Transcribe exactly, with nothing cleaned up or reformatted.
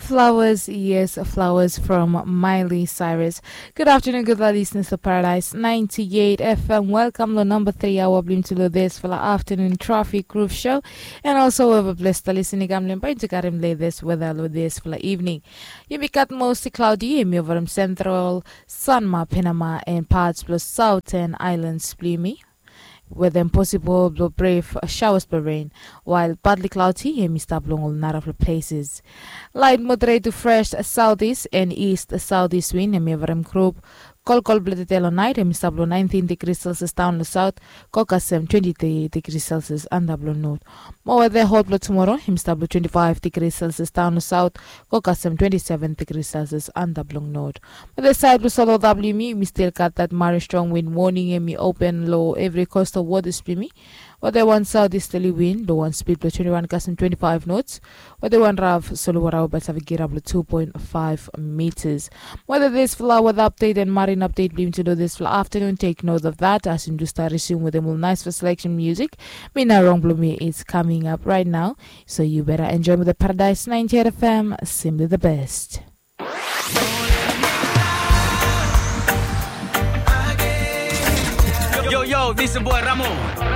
Flowers, yes, flowers from Miley Cyrus. Good afternoon, good listeners of Paradise ninety-eight F M. Welcome to number three hour blim to this for the afternoon traffic roof show. And also, we have a blessed listening. I'm Limpa to Karim lay this weather lo this for the evening. Yumi gat mostly cloudy, yumi over Central, Sanma, Panama, and parts plus Southern Islands, blimi. Weather impossible, blow brave showers, blow rain, while partly cloudy, yumi stap long all narafla places. Light moderate to fresh southeast and east southeast wind, yumi over group. Kolkol blow the tail night, yumi stap long nineteen degrees Celsius down the south, kokasem twenty-three degrees Celsius under blow north. Mo weather hot blow tomorrow, yumi stap long twenty-five degrees Celsius down south, kokasem twenty-seven degrees Celsius under blow north. Mo the side blow solo W M E, yumi still got that very strong wind warning, yumi open lo every coastal waters, blimi. Weather one southeasterly wind, the one speed blow twenty-one kasem twenty-five knots. Weather one rough, solo water over Savigirab lo two point five meters. Weather this flower, weather update and marine update, blimi to know this flower afternoon. Take note of that as you do start resume with the more nice for selection music. Me na wrong blow me, it's coming up right now. So you better enjoy with the Paradise ninety-eight F M, simply the best. Yo, yo, this is boy Ramo.